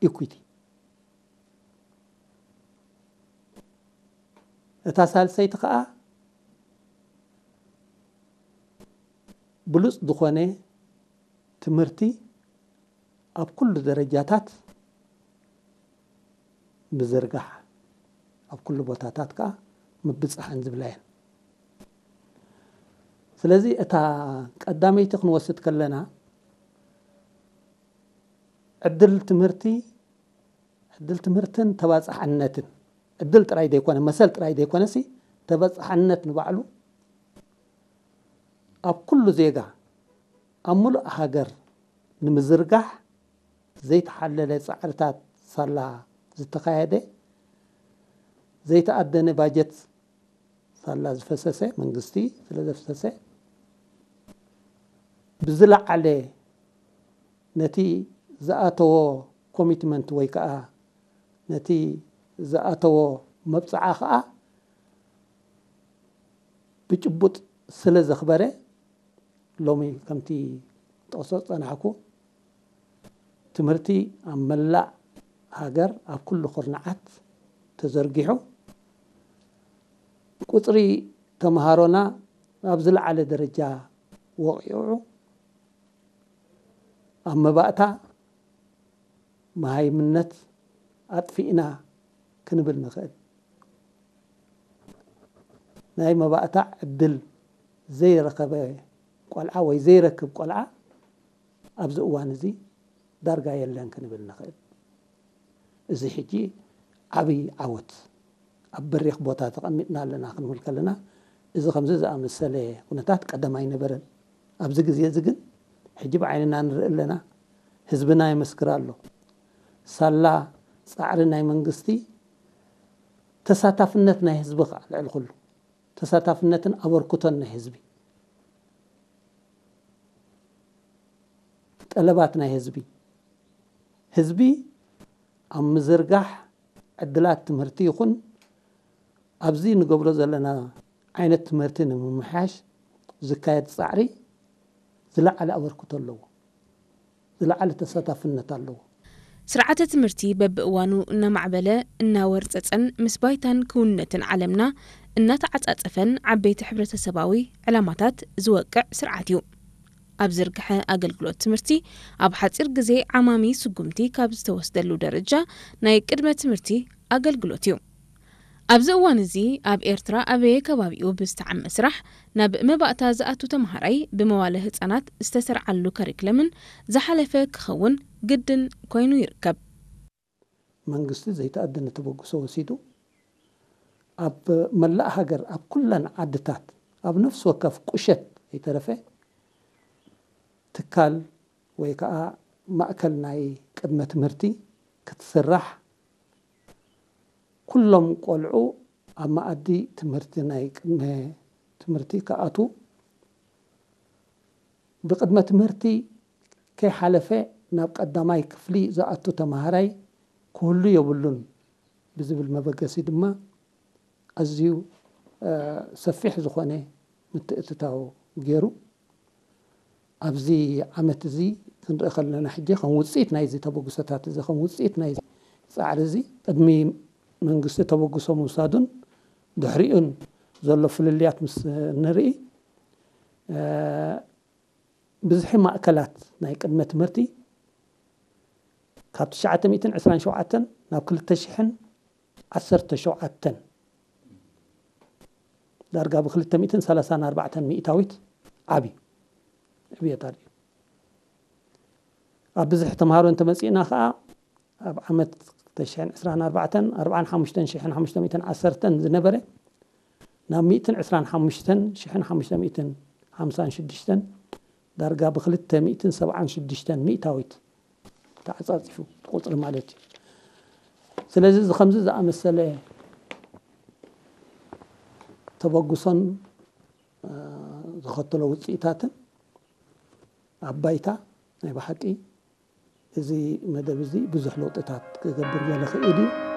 ኢኩዊቲ። እታ ሳልሰይቲ ከዓ ብሉፅ ዝኾነ ትምህርቲ ኣብ ኩሉ ደረጃታት ምዝርጋሕ፣ ኣብ ኩሉ ቦታታት ከዓ ምብፃሕን ዝብላ እየን። ስለዚ እታ ቀዳመይቲ ክንወስድ ከለና ዕድል ትምህርቲ፣ ዕድል ትምህርትን ተባፃሕነትን፣ ዕድል ጥራይ ዘይኮነ፣ መሰል ጥራይ ዘይኮነሲ፣ ተባፃሕነት ንባዕሉ ኣብ ኩሉ ዜጋ ኣብ ሙሉእ ሃገር ንምዝርጋሕ ዘይተሓለለ ፃዕርታት ሳላ ዝተኻየደ፣ ዘይተኣደነ ባጀት ሳላ ዝፈሰሰ፣ መንግስቲ ስለ ዘፍሰሰ፣ ብዝለዓለ ነቲ ዝኣተዎ ኮሚትመንት ወይ ከዓ ነቲ ዝኣተዎ መብፅዓ ከዓ ብጭቡጥ ስለ ዘኽበረ፣ ሎሚ ከምቲ ጠቕሶ ዝፀናሕኩ፣ ትምህርቲ ኣብ መላእ ሃገር ኣብ ኩሉ ኩርናዓት ተዘርጊሑ፣ ቁፅሪ ተምሃሮና ኣብ ዝለዓለ ደረጃ ወቒዑ፣ ኣብ መባእታ መሃይምነት ኣጥፊእና ክንብል ንኽእል። ናይ መባእታ ዕድል ዘይረኸበ ቆልዓ ወይ ዘይረክብ ቆልዓ ኣብዚ እዋን እዚ ዳርጋ የለን ክንብል ንኽእል። እዚ ሕጂ ዓብዪ ዓወት፣ ኣብ በሪኽ ቦታ ተቐሚጥና ኣለና ክንብል ከለና፣ እዚ ከምዚ ዝኣመሰለ ኩነታት ቀደም ኣይነበረን። ኣብዚ ግዜ እዚ ግን ሕጂ ብዓይንና ንርኢ ኣለና፣ ህዝብና የመስክር ኣሎ። ሳላ ፃዕሪ ናይ መንግስቲ፣ ተሳታፍነት ናይ ህዝቢ ከዓ ልዕሊ ኩሉ፣ ተሳታፍነትን ኣበርክቶን ናይ ህዝቢ፣ ጠለባት ናይ ህዝቢ፣ ህዝቢ ኣብ ምዝርጋሕ ዕድላት ትምህርቲ ይኹን ኣብዚ ንገብሮ ዘለና ዓይነት ትምህርቲ ንምምሕያሽ ዝካየድ ፃዕሪ ዝለዓለ ኣበርክቶ ኣለዎ፣ ዝለዓለ ተሳታፍነት ኣለዎ። ስርዓተ ትምህርቲ በብእዋኑ እናማዕበለ እናወርፀፀን ምስ ባይታን ክውንነትን ዓለምና እናተዓፃፀፈን ዓበይቲ ሕብረተሰባዊ ዕላማታት ዝወቅዕ ስርዓት እዩ። ኣብ ዝርግሐ ኣገልግሎት ትምህርቲ ኣብ ሓፂር ግዜ ዓማሚ ስጉምቲ ካብ ዝተወስደሉ ደረጃ ናይ ቅድመ ትምህርቲ ኣገልግሎት እዩ። ኣብዚ እዋን እዚ ኣብ ኤርትራ ኣበየ ከባቢኡ ብዝተዓመ ስራሕ ናብ መባእታ ዝኣቱ ተምሃራይ ብመዋለ ህጻናት ዝተሰርዓሉ ከሪክለምን ዝሓለፈ ክኸውን ግድን ኮይኑ ይርከብ። መንግስቲ ዘይተኣደነ ተበግሶ ወሲዱ ኣብ መላእ ሃገር ኣብ ኩለን ዓድታት ኣብ ነፍሲ ወከፍ ቁሸት ከይተረፈ ትካል ወይ ከዓ ማእከል ናይ ቅድመ ትምህርቲ ክትስራሕ፣ ኩሎም ቆልዑ ኣብ መኣዲ ትምህርቲ ናይ ቅድመ ትምህርቲ ክኣትዉ፣ ብቅድመ ትምህርቲ ከይሓለፈ ናብ ቀዳማይ ክፍሊ ዝኣቱ ተምሃራይ ክህሉ የብሉን ብዝብል መበገሲ ድማ ኣዝዩ ሰፊሕ ዝኾነ ምትእትታው ገይሩ። ኣብዚ ዓመት እዚ ክንርኢ ከለና ሕጂ ከም ውፅኢት ናይዚ ተበግሶታት እዚ፣ ከም ውፅኢት ናይዚ ፃዕሪ እዚ ቅድሚ መንግስቲ ተበግሶ ምውሳዱን ድሕሪኡን ዘሎ ፍልልያት ምስ ንርኢ፣ ብዝሒ ማእከላት ናይ ቅድመ ትምህርቲ ካብ ትሽዓተ ሚእትን ዕስራን ሸውዓተን ናብ ክልተ ሽሕን ዓሰርተ ሸውዓተን ዳርጋ ብ ክልተ ሚእትን ሰላሳን ኣርባዕተን ሚእታዊት ዓብዩ ዕብየት ኣሎ። ኣብ ብዝሒ ተምሃሮ እንተመፂእና ከዓ ኣብ ዓመት ክልተ ሽሕን ዕስራን ኣርባዕተን ኣርባዓን ሓሙሽተን ሽሕን ሓሙሽተ ሚእትን ዓሰርተን ዝነበረ ናብ ሚእትን ዕስራን ሓሙሽተን ሽሕን ሓሙሽተ ሚእትን ሓምሳን ሽዱሽተን ዳርጋ ብ ክልተ ሚእትን ሰብዓን ሽዱሽተን ሚእታዊት ተዓፃፂፉ ቁፅሪ ማለት እዩ። ስለዚ እዚ ከምዚ ዝኣመሰለ ተበግሶን ዝኸተሎ ውፅኢታትን ኣብ ባይታ ናይ ብሓቂ እዚ መደብ እዚ ብዙሕ ለውጥታት ክገብር ገለ ክእል እዩ።